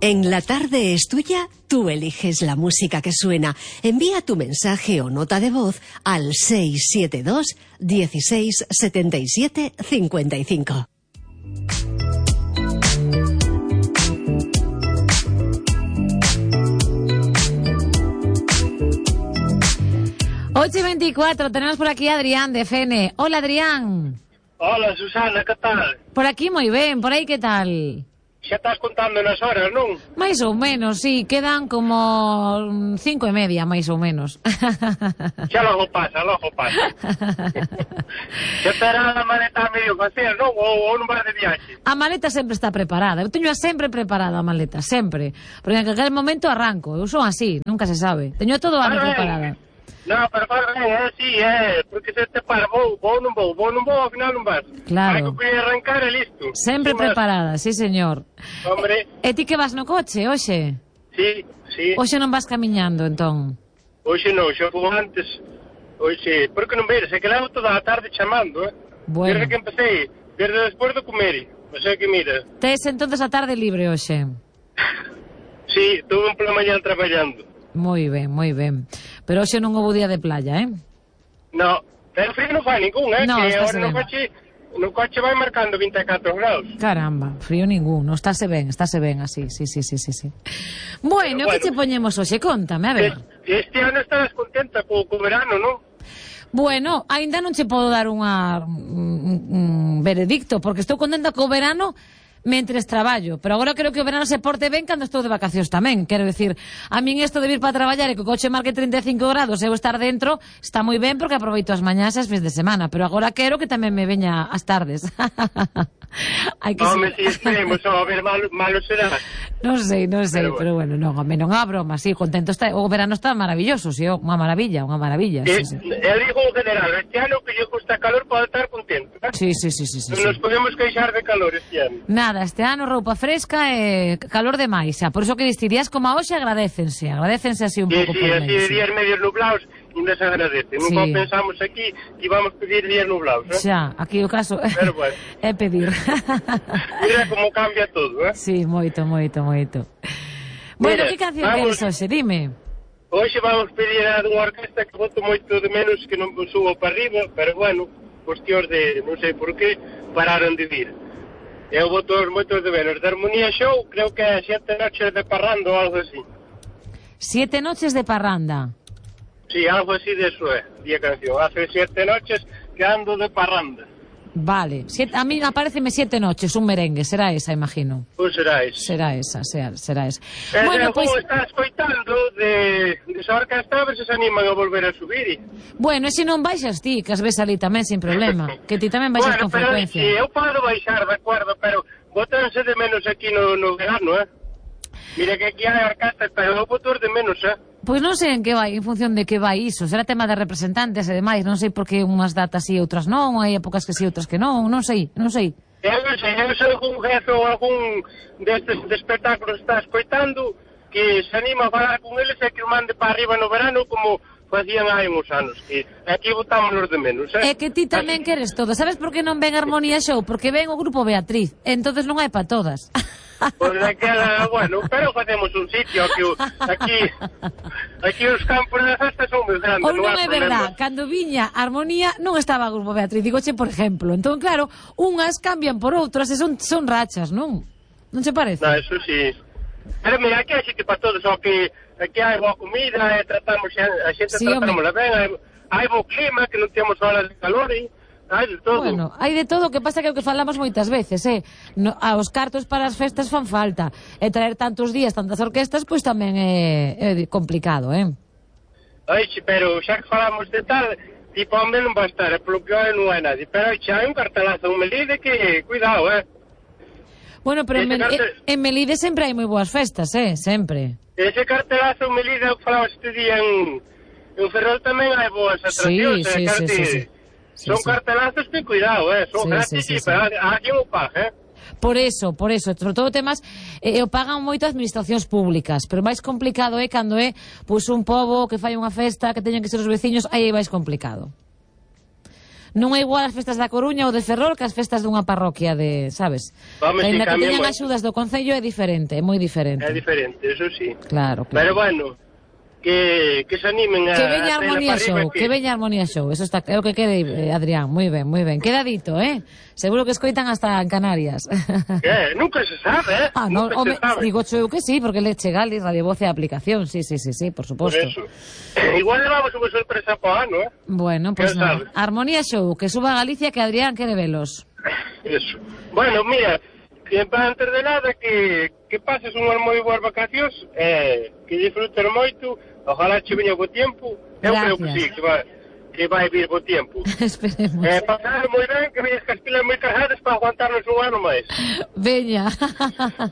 En La Tarde es Tuya, tú eliges la música que suena. Envía tu mensaje o nota de voz al 672 16 77 55. Ocho y 24, tenemos por aquí a Adrián de FN. Hola, Adrián. Hola, Susana, que tal? Por aquí moi ben, por aí que tal? Xa estás contando nas horas, non? Mais ou menos, sí, quedan como 5:30, máis ou menos. Xa logo pasa, logo pasa. Xa terá a maleta a medio facer, non? Ou non vas de viaxe? A maleta sempre está preparada, eu teño sempre preparada a maleta, sempre. Porque en aquel momento arranco, eu son así, nunca se sabe. Teño todo a preparada. No, pero sí, porque se te para, vou non vou, ao final non vas. Claro. Hai que arrancar e listo. Sempre preparada, sí, señor. Hombre. E ti que vas no coche, hoxe? Sí. Hoxe non vas camiñando, entón? Hoxe non, xa fui antes. Hoxe, porque non veres, é que levo toda a tarde chamando, Bueno. Desde que empecé, desde despois do comer, o sea que mira. Tes entonces a tarde libre hoxe? Sí, tuve un pola mañá traballando. Moi ben, moi ben. Pero hoxe non houve día de playa, No, pero frío non fai ningún, No, que estáse agora ben. no coche vai marcando 24 graus. Caramba, frío ningún, non estáse ben así, sí. Bueno, que che poñemos hoxe? Contame, a ver. Este ano estarás contenta co verano, non? Bueno, aínda non che podo dar un veredicto, porque estou contenta co verano mentres traballo, pero agora creo que o verano se porte ben cando estou de vacacións tamén, quero dicir, a min isto de vir para traballar e que o coche marque 35 grados e eu estar dentro, está moi ben porque aproveito as mañás e as fins de semana, pero agora quero que tamén me veña as tardes. Hai que Home, si esperemos, a ver, malo será. Non sei, pero bueno, non, home, non a broma, sí, contento está, o verano está maravilloso, sí, unha maravilla, sí. Eu digo en general, este ano que lle gusta calor pode estar contento, Sí. Non nos podemos queixar de calor este ano. Nada, este ano roupa fresca e calor demais, xa, por iso que dirías como a hoxe agradecense así un pouco por así de días medios nublados, ainda se agradece. Nunca pensamos aquí que íbamos pedir días nublados, Xa, aquí o caso bueno. é pedir. Mira como cambia todo, Sí, moito. Bueno, que canción queres hoxe? Dime. Hoxe vamos pedir a dunha orquesta que boto moito de menos que non subo para arriba, pero bueno, cuestións de, non sei por qué, pararon de vir. Eu boto moitos de menos. De Armonía Show, creo que é 7 noches de parranda ou algo así. 7 noches de parranda. Sí, algo así de eso é, a canción. Hace 7 noches que ando de parranda. Vale, a mí apareceme 7 noches, un merengue, será esa, imagino. Pois será esa. Será esa. Bueno, pois estás escoitando de esa orquesta, a ver se animan a volver a subir. Bueno, e se non baixas ti, que as ves ali tamén sin problema, que ti tamén baixas con frecuencia. Bueno, pero eu podo baixar, de acordo, pero botanse de menos aquí no verano, Mira que aquí hai orquestas, pero eu boto de menos, Pois non sei en que vai, en función de que vai iso. Será tema de representantes e demais. Non sei por que unhas datas e outras non, hai épocas que sí, outras que non sei. Eu non sei, algún jefe ou algún destes de espectáculos está escoitando que se anima a falar con eles e que o mande para arriba no verano como facían hai uns anos, que aquí botámonos de menos, É que ti tamén queres todo. Sabes por que non ven Armonía Show? Porque ven o grupo Beatriz, entonces non hai para todas. Pois aquela, bueno, pero facemos un sitio aquí os campos da festa son moi grandes. Ou non é verdad, cando viña Armonía non estaba o grupo Beatriz, digoche por exemplo. Entón, claro, unhas cambian por outras e son rachas, non? Non se parece? Non, eso sí. Pero mira, aquí hai sitio para todos, só que aquí hai boa comida, tratamos a xente tratámola ben, hai bo clima, que non temos olas de calor, hai de todo. Bueno, hai de todo, o que pasa que é o que falamos moitas veces, os cartos para as festas fan falta, e traer tantos días, tantas orquestas, pois tamén é complicado, Ai, pero xa que falamos de tal, tipo, homem non vai estar, polo que hai non hai nadie, pero xa hai un cartelazo, un Melide que, cuidado, Bueno, pero en Melide sempre hai moi boas festas, sempre. Ese cartelazo en Melide, o que falaba este día en Ferrol tamén hai boas atraccións, sí. Son cartelazos que cuidado, son gratis, pero aquí o paga, Por eso, sobre todo temas o pagan moito administracións públicas, pero máis complicado é cando é un pobo que fai unha festa, que teñen que ser os veciños, aí é máis complicado. Non é igual as festas da Coruña ou de Ferrol que as festas dunha parroquia de, sabes? Vamos, Ainda que teñan moito. axudas do Concello é diferente, é moi diferente. É diferente, eso sí. Claro, claro. Pero bueno, que se animen a... Que veña a Armonía traela para Show, arriba, que veña Armonía Show. Eso está, é o que quere Adrián, moi ben, moi ben. Queda dito, Seguro que escoitan hasta en Canarias. Nunca se sabe, Ah, no, nunca home, se sabe. digo eu que sí, porque le chega ali Radio Voz e a aplicación, sí, por Por suposto. eso. Igual levamos unha sorpresa para o ano, Bueno, pues ¿Quién nada. sabe? Armonía Show, que suba a Galicia que Adrián quere velos. Eso. Bueno, mira, que antes de nada que pases unhas moi boas vacacións, que disfrutes moito, ojalá che veña bo tempo. Eu creo que sí, que vai vir bo tempo. Esperemos. Pasar moi ben, que veñas cas pilas moi cargadas para aguantarnos un ano máis. Veña.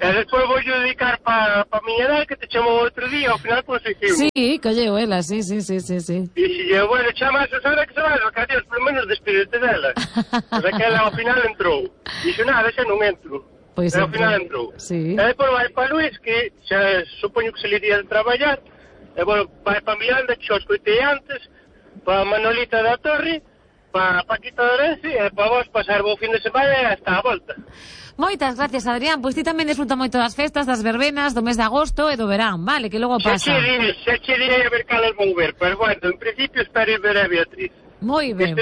E despois vou dedicar para miña edad, que te chamo outro día, ao final conseguimos. Sí, colleu ela, sí. E si bueno, chamas a Sara que se vai as vacacións, polo menos despídete dela. Pois aquela ao final entrou. Dixo, nada, xa non entro. Pois Ao final entrou. Sí. E depois vai para Luís, que xa supoño que se le iría de traballar. E bueno, vai para Miranda, que xa os coitei antes, para Manolita da Torre, para Paquita de Orense, e para vos pasar bo fin de semana e hasta a volta. Moitas gracias, Adrián. Pois ti tamén desfruta moito das festas, das verbenas, do mes de agosto e do verán, vale? Que logo pasa. Xa che direi a ver calas vou ver, pero bueno, en principio espero ir ver a Beatriz. Moi ben.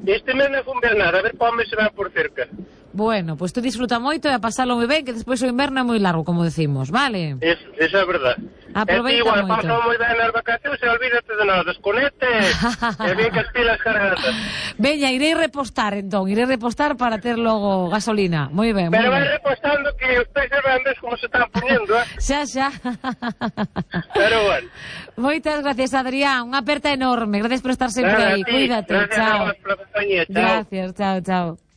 Este mes non fun ver nada, a ver para onde se van por cerca. Bueno, pois tú disfruta moito e a pasalo moi ben, que despois o inverno é moi largo, como decimos, vale? Esa é verdad. Aproveita igual, moito. pasa moi ben nas vacacións e olvídate de nada, desconecte e ven que as pilas cargadas. Veña, irei repostar para ter logo gasolina. Moi ben, Pero moi vai ben. repostando que os peces vendes como se están poniendo, Xa. Pero bueno. Moitas gracias, Adrián. Unha aperta enorme. Gracias por estar sempre Nada, aí. a ti. Cuídate. Gracias Chao. a vos pola compañía. Chao. Gracias, chao.